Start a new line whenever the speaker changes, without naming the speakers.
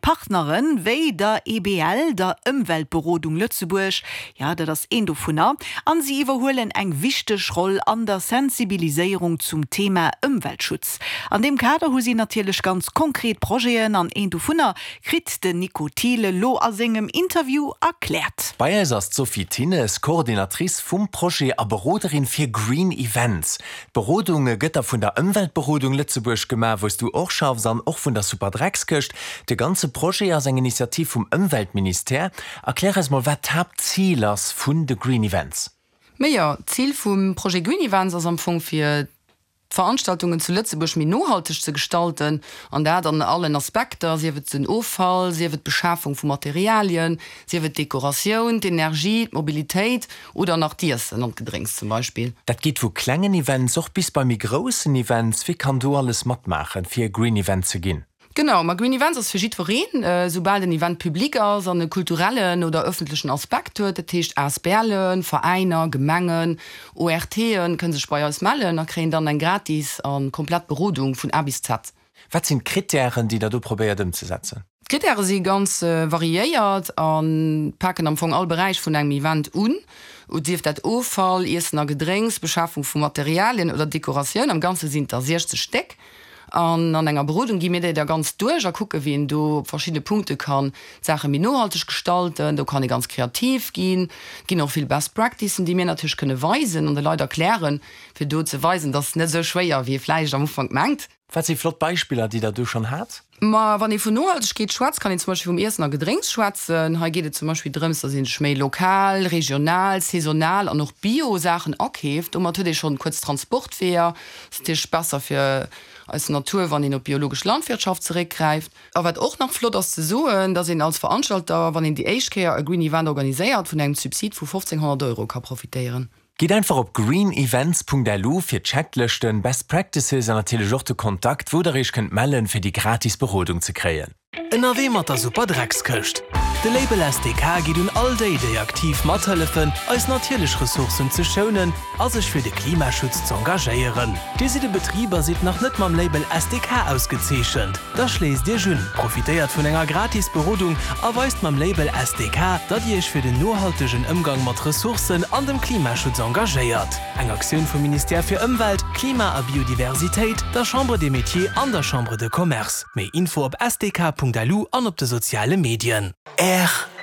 Partneren, wéi der EBL, der Ëmweltberodung Lëtzebuerg, jo, dat ass een dovunner, an si iwwerhuelen eng wichteg Roll an der Sensibiliséierung zum Thema Ëmweltschutz. An deem Kader hu si natierlech ganz konkret Projeten, an een dovunner kritt den Nico Thiel elo a sengem Interview erkläert.
Bei eis ass d'Sophie Thinnes, Coordinatrice vum Projet a Beroderin fir Green Events. D'Berodung gëtt da vun der Ëmweltberodung Lëtzebuerg gemaach, wou s du och schaffs, an och vun der Superdreckskëscht. De ganze Projet ass eng Initiativ vum Ëmweltministère. Erklär eis mol, wat d'Haaptzil ass vun de Green Events.
Majo, d'Zil vum Projet Green Events ass am Fong fir d'Veranstaltungen zu Lëtzebuerg méi nohalteg ze gestalten, an dat an allen Aspekter, sief et den Offall, sief et d'Beschafung vu Materialien, sief et d'Dekoratioun, d'Energie, d'Mobilitéit oder nach d'Iessen an d'Gedrénks zum Beispill.
Dat geet vu klengen Events och bis bei méi groussen Events. Wie kann do alles matmaachen, fir e Green Event ze ginn?
Genau, ma Green Events ass fir jiddwereen, soubal den Event public ass an e kulturellen oder ëffentlechen Aspekt huet. Dat heescht ASBLen, Veräiner, Gemengen, ORTen kënne sech bei eis mellen a kréien dann eng gratis a komplett Berodung vun A bis Z.
Wat sinn d'Krittären, déi der do probéiert ëmzesetzen?
D'Krittäre si ganz variéiert a paken am Fong all Beräich vun engem Event un, sief dat Offall, Iessen a Gedrénks, Beschafung vu Materialien oder Dekoratioun. Am Ganze sinn et der 60 Stéck. An an enger Berodung gi mir déi da ganz duerch a kucke wéi een do op verschiddene Punkte kann d'Saache méi nohalteg gestalten. Do kann ee ganz kreativ ginn. Et ginn och vill Best Practicen, déi mir natierlech kënne weisen an de Leit erklären, fir do ze weisen, dass et net esou schwéier wéi ee vläicht am Ufank mengt.
Wat si flott Beispiller, déi Der do schonn hat?
Ma wann ee vun Nohaltegkeet schwätzt, kann een zum Beispill vum Iessen a Gedrénks schwätzen. Hei geet et zum Beispill drëms, dass ee sech méi lokal, regional, saisonal an och bio Saachen akeeft. Domat huet ee schonn kuerz Transportweeër. Ass natierlech besser fir eis Natur, wann een op biologesch Landwirtschaft zeréckgräift. A wat och nach flott ass ze soen, dass een als Veranstalter, wann een déi éischt Kéier e Green Event organiséiert, vun engem Subsid vu 1.500 Euro ka profitéieren.
Gitt einfach op greenevents.lu fir Checklëschten, Best Practices an natierlech och de Kontakt, wou der iech kënnt mellen, fir déi gratis Berodung ze kréien.
Ënnerwee mat der Super Dreckskëscht. De Label SDK geet un all déi, déi aktiv mathëllefen, eis natierlech Ressourcen ze schounen a sech fir de Klimaschutz z'engagéieren. Dir sidd e Betrib a sidd nach net mam Label SDK ausgezeechent? Da schléisst Iech un, profitéiert vun enger gratis Berodung a weist mam Label SDK, datt Dir Iech fir den nohaltegen Ëmgang mat Ressourcen an dem Klimaschutz engagéiert. Eng Aktioun vum Ministère fir Ëmwelt, Klima a Biodiversitéit, der Chambre des Métiers an der Chambre de Commerce. Méi Info op sdk.lu an op de soziale Medien.
Rtl.